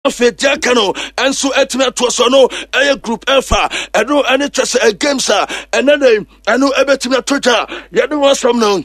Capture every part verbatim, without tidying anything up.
Afei deɛ aka no nso atumi atoa so no ɛyɛ Group F a ɛno ɛne kyɛ sɛ games a ɛnɛ dɛ ɛno ɛbɛtumi ato dwa. Yɛde ho asɛm no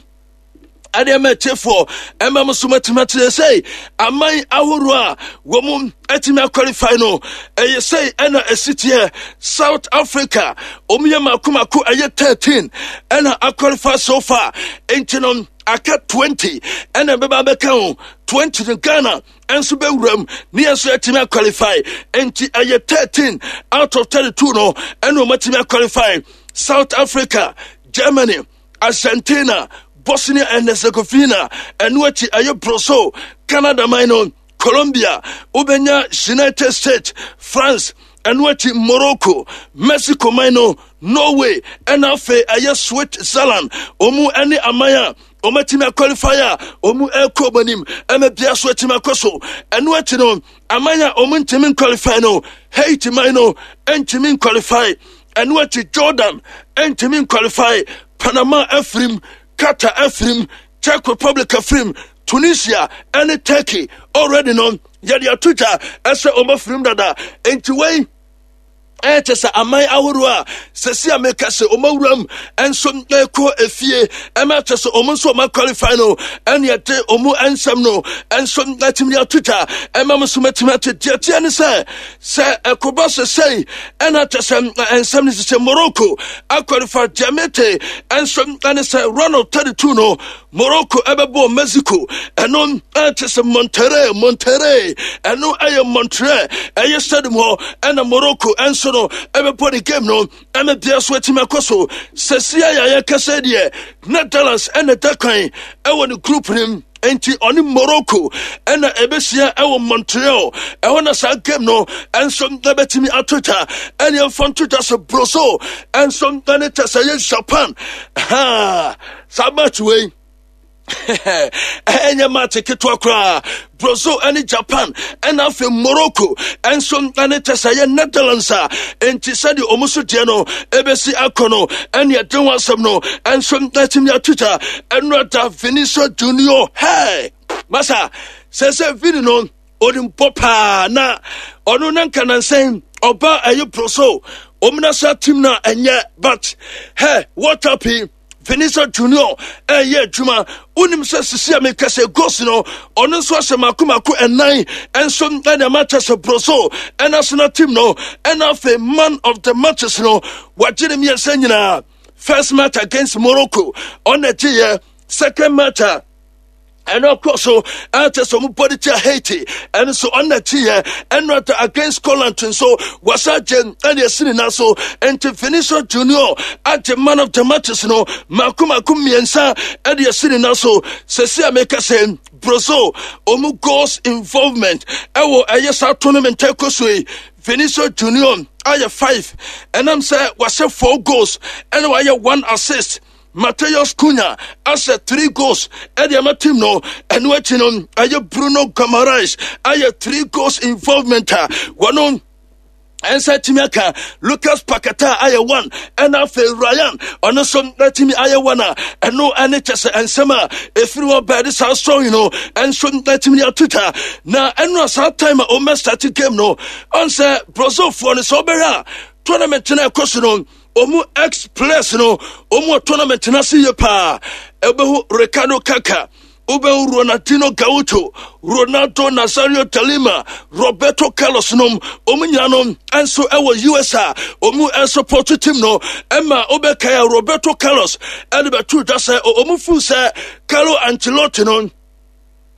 ɛde ɛma atiefoɔ ɛma mo so matumi akyerɛ sɛ aman ahoroɔ a wɔn mu atumi aqualify no ɛyɛ sɛ ɛna ɛsi teɛ. South Africa, wɔn yɛ mako mako ɛyɛ thirteen ɛna aqualify so far, nti no aka twenty ɛna ɛbɛba abɛka ho. twenty no, Ghana nso bɛwura mu ne yɛn nso yɛtumi aqualify, nti ɛyɛ thirteen out of thirty-two no ɛna wɔn atumi aqualify. South Africa, Germany, Argentina, Bosnia and Herzegovina, ɛno akyi ɛyɛ Brazil, Canada man no, Colombia, wobɛnya United States, France, ɛno akyi Morocco, Mexico man no, Norway, ɛna afei ɛyɛ Switzerland. Ɔmu ɛne aman a ɔmatumi aqualify a ɔmu ɛkɔ ɔmo anim ɛma bia so atumi akɔ so. Ɛno akyi no, aman a ɔmo ntumi nqualify no, Haiti man no ntumi nqualify, ɛno akyi Jordan ntumi nqualify, Panama afirim, Qatar afirim, Czech Republic afirim, Tunisia ɛne Turkey already no yɛde ato dwa ɛsɛ ɔmo afirim dada. Nti wei ɛkyɛ sɛ aman ahoroɔ a sɛsi a meka sɛ ɔma wuram nso ɛkɔ efie ɛma kyɛ sɛ ɔmo nso ɔma qualify no, ɛne ɛde ɔmo nsɛm no nso atumi ato dwa ɛma mo nso matumi ate. Deɛ teɛ ne sɛ sɛ ɛkɔba sɛ sɛi ɛna kyɛ sɛ nsɛm no sɛ Morocco aqualify. Deɛ mete nso ɛne sɛ round of thirty-two no, Morocco ɛbɛbɔ Mexico. Ɛno ɛkyɛ sɛ Monterrey Monterrey ɛno ɛyɛ Monterrey, ɛyɛ stadium hɔ ɛna Morocco ɛnso no ɛbɛbɔ ne game no ɛna bia so atumi akɔ so. Sɛsia yɛ yɛkasa deɛ, Netherlands ɛna da kwan ɛwɔ ne group nim, nti ɔne Morocco ɛna ɛbɛhyia ɛwɔ Montreal ɛhɔ na saa game no ɛnso ɛbɛtumi ato dwa. Ɛne ɛmfa nto dwa sɛ Brazil ɛnso ɛne kyɛ sɛ ɛyɛ Japan ha, saa match wei ɛnyɛ match ketewa koraa. Brazil ɛne Japan, ɛna afei Morocco ɛnso ɛne kyɛ sɛ ɛyɛ Netherlands a, enti sɛdeɛ ɔmo so deɛ no ɛbɛsi akɔ no, ɛne ɛde ho asɛm no ɛnso ɛtumi ato dwa. Ɛno ada Vinicius Junior, hey masa, sɛ sɛ Vini no onim bɔ paa na ɔno na nka nansɛn ɔba ɛyɛ Brazil ɔmo national team na ɛnyɛ, but hey, what up yi, Vinicius Junior ɛyɛ adwuma. Wonim sɛ sisi a meka sɛ goals no, ɔno nso ahyɛ mako mako ɛnan ɛnso ɛna ɛma kyɛ sɛ Brazil ɛnational team no, ɛna afei man of the matches no wagye ne mmiɛnsa nyinaa. First match against Morocco, ɔna gyeeɛ. Second match a ɛno akɔ so ɛkyɛ sɛ ɔmo bɔde tia Haiti, ɛno nso ɔna akyiɛ. Ɛno ata against Scotland nso wasa gye ɛne ɛsi ne nan so. Nti Vinicius Junior agye man of the matches no mako mako mmiɛnsa ɛde ɛsi ne nan so. Sɛsi a meka sɛ Brazil ɔmo goals involvement ɛwɔ ɛyɛ saa tournament ɛkɔ so yi, Vinicius Junior ayɛ five, ɛnam sɛ wahyɛ four goals ɛna wayɛ one assist. Mateus Cunha ahyɛ three goals ɛde ama team no. Ɛno akyi no, ɛyɛ Bruno Guimaraes ayɛ three goals involvement a wɔno ɛnsa tumi aka. Lucas Paqueta ayɛ one, ɛna afei Ryan ɔno nso atumi ayɛ one a ɛno ɛne kyɛ sɛ nsɛm a ɛfiri hɔ bɛɛde saa story no ɛnso atumi ato twa. Na ɛno a saa time a ɔmɛ start game no, ɔn sɛ Brazilfoɔ no sɛ ɔbɛhwɛ a tournament no ɛkɔ so no, ɔmu ex players no ɔmu wɔ tournament no ase yie paa. Ɛbɛhu Ricardo Kaka, wobɛhu Ronaldinho Gaucho, Ronaldo Nazario de Lima, Roberto Carlos nom, ɔmu nyina no nso ɛwɔ U S a ɔmu ɛsupport team no. Ɛma wobɛkae a Roberto Carlos ɛde bɛto dwa sɛ ɔmu fuu sɛ Carlo Ancelotti no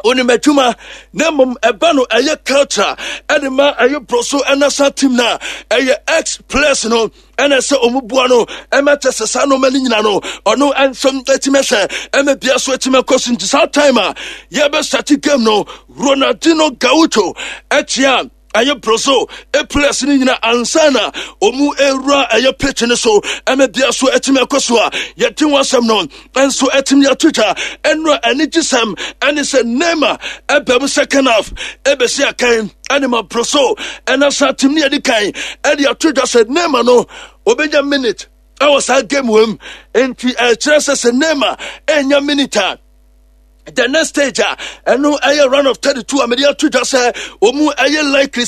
onim adwuma, na mmom ɛba no ɛyɛ culture ɛde ma ɛyɛ Brazil ɛnasa team no a ɛyɛ ex players no ɛna sɛ ɔmu boa no ɛma kyɛ sɛ saa nneɛma no nyina no ɔno ɛnso atumi hwɛ ɛma bia so atumi akɔ so. Nti saa time a yɛbɛstart game no, Ronaldinho Gaucho ɛkyea ɛyɛ Brazil players no nyina ansa na ɔmu ɛwura ɛyɛ pitch no so ɛma bia so atumi akɔ so a yɛte ho asɛm no nso atumi ato twa. Ɛno a anigye sɛm ɛne sɛ Neymar ɛbɛm second half ɛbɛsi akan ɛne ma Brazil ɛna saa team no yɛde kan ɛde ato dwa sɛ Neymar no ɔbɛnya minute ɛwɔ saa game wɔ mu. Nti ɛkyerɛ sɛ sɛ Neymar ɛnya minute a The next stage a ɛno ɛyɛ round of thirty-two a mede ato dwa sɛ ɔmu ɛyɛ likely sɛ